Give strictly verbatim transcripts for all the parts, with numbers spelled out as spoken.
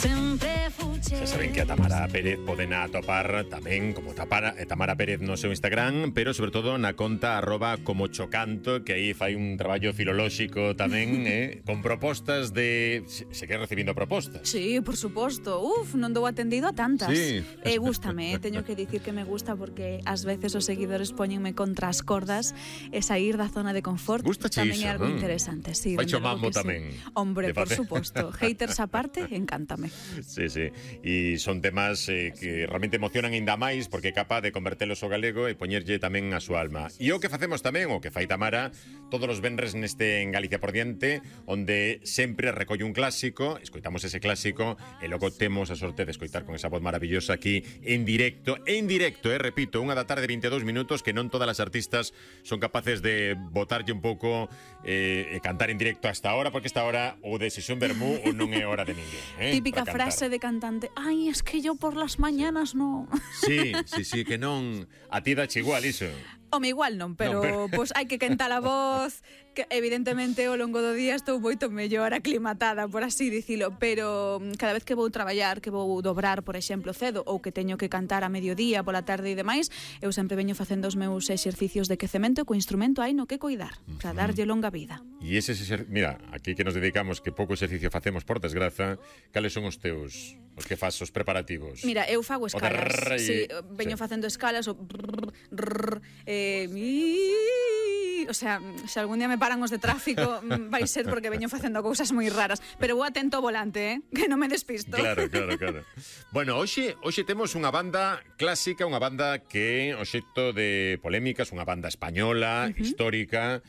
Xa saben que a Tamara Pérez poden atopar tamén como Tapara, eh, Tamara Pérez no seu Instagram, pero sobre todo na conta arroba como chocanto, que aí fai un traballo filolóxico tamén, eh, con propostas de... Se, se quer recibindo propostas. Sí, por suposto. Uf, non dou atendido a tantas. Sí. Eh, gústame, eh, teño que dicir que me gusta porque ás veces os seguidores poñenme contra as cordas e sair da zona de confort. Gusta tamén iso, é algo non? interesante. Sí, Faicho dende logo mambo que sí. tamén. Hombre, De por parte. suposto. Haters aparte, encántame. Sí, sí. E son temas eh, que realmente emocionan ainda máis porque é capaz de convertelos ao galego e poñerlle tamén a súa alma. E o que facemos tamén, o que fai Tamara, todos os venres neste En Galicia por Diante, onde sempre recolle un clásico, escoitamos ese clásico e logo temos a sorte de escoitar con esa voz maravillosa aquí en directo, en directo, eh, repito, unha da tarde vinte e dous minutos, que non todas as artistas son capaces de botarlle un pouco eh, e cantar en directo hasta ahora, porque esta hora ou de sesión vermú ou non é hora de ninguén. Eh, Típica frase de cantante. Ay, es que yo por las mañanas no. Sí, sí, sí, que non. A ti dache igual iso. Home, igual non, pero, Non, pero... pois hai que quentar a voz, que evidentemente ao longo do día estou moito mellor aclimatada, por así dicilo, pero cada vez que vou traballar, que vou dobrar, por exemplo, cedo, ou que teño que cantar a mediodía, pola tarde e demais, eu sempre veño facendo os meus exercicios de quecemento co instrumento hai no que coidar, para darlle longa vida. E ese exercicio, mira, aquí que nos dedicamos, que pouco exercicio facemos por desgraza, cales son os teus, os que fas os preparativos? Mira, eu fago escalas, rrr, sí, veño sí. facendo escalas, o brrr, rrr, eh, mi... o sea, se algún día me paran os de tráfico vai ser porque veño facendo cousas moi raras, pero vou atento ao volante, eh, que non me despisto. Claro, claro, claro. Bueno, hoxe, hoxe temos unha banda clásica, unha banda que é obxecto de polémicas, unha banda española, uh-huh. histórica,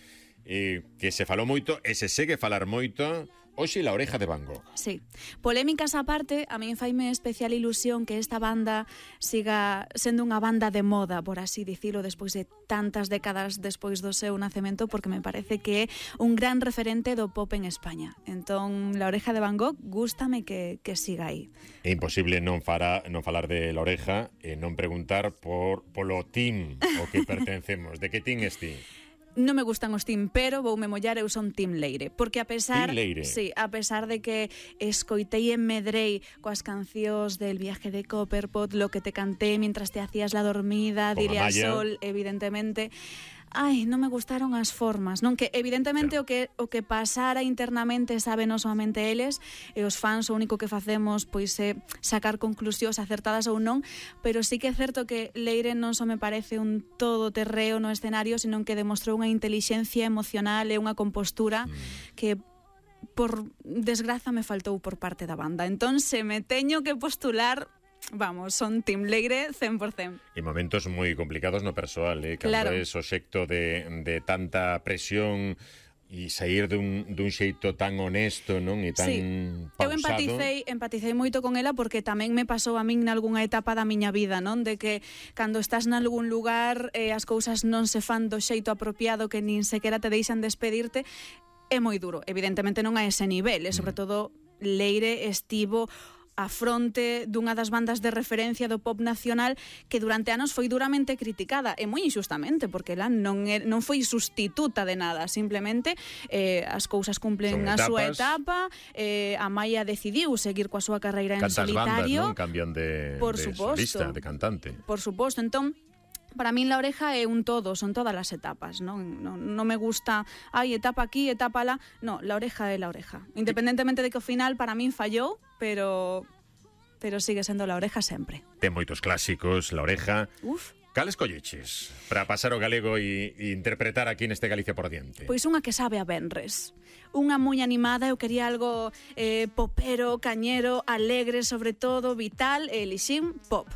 eh, que se falou moito e se segue falar moito. Hoxe La Oreja de Van Gogh. Sí. Polémicas aparte, a min faime especial ilusión que esta banda siga sendo unha banda de moda, por así dicilo, despois de tantas décadas despois do seu nacemento, porque me parece que é un gran referente do pop en España. Entón, La Oreja de Van Gogh, gústame que, que siga aí. É imposible non, fará, non falar de La Oreja e non preguntar por polo team ao que pertencemos. De que team es ti? Non me gustan os team, pero voume mollar, eu son team Leire, porque a pesar, Team Leire. sí, a pesar de que escoitei e medrei coas cancións del Viaje de Copperpot, Lo que te canté mientras te hacías la dormida, Con Dile al Amaya. sol, evidentemente, ai, non me gustaron as formas, non? Que evidentemente Claro. o que o que pasara internamente saben somente eles, e os fans o único que facemos pois é sacar conclusións acertadas ou non, pero sí que é certo que Leire non só me parece un todoterreo no escenario, senón que demostrou unha intelixencia emocional e unha compostura mm. que por desgraza me faltou por parte da banda. Entón, se me teño que postular, vamos, son Team Leire cen por cen. E momentos moi complicados no persoal, eh? Cando Claro. é obxecto de, de tanta presión e sair dun, dun xeito tan honesto, non? E tan Sí. pausado. Eu empaticei, empaticei moito con ela porque tamén me pasou a min nalgúnha etapa da miña vida, non? De que cando estás nalgún lugar eh, as cousas non se fan do xeito apropiado, que nin sequera te deixan despedirte, é moi duro. Evidentemente non a ese nivel, e sobre todo Leire estivo a fronte dunha das bandas de referencia do pop nacional que durante anos foi duramente criticada, e moi injustamente, porque ela non, é, non foi sustituta de nada, simplemente eh, as cousas cumplen a súa etapa, eh, a Maia decidiu seguir coa súa carreira en Cantas solitario. bandas, non? Cambian de, Por de suposto. solista, de cantante. Por suposto, entón para min La Oreja é un todo, son todas as etapas, non, non, non me gusta, ai, etapa aquí, etapa lá, no, La Oreja é La Oreja. Independentemente de que ao final para min fallou, pero pero sigue sendo La Oreja sempre. Ten moitos clásicos, La Oreja. Uf. Cales colleches para pasar o galego e, e interpretar aquí neste Galicia por Diante? Pois unha que sabe a venres. Unha moi animada, eu quería algo eh, popero, cañero, alegre, sobre todo, vital, e elixín pop.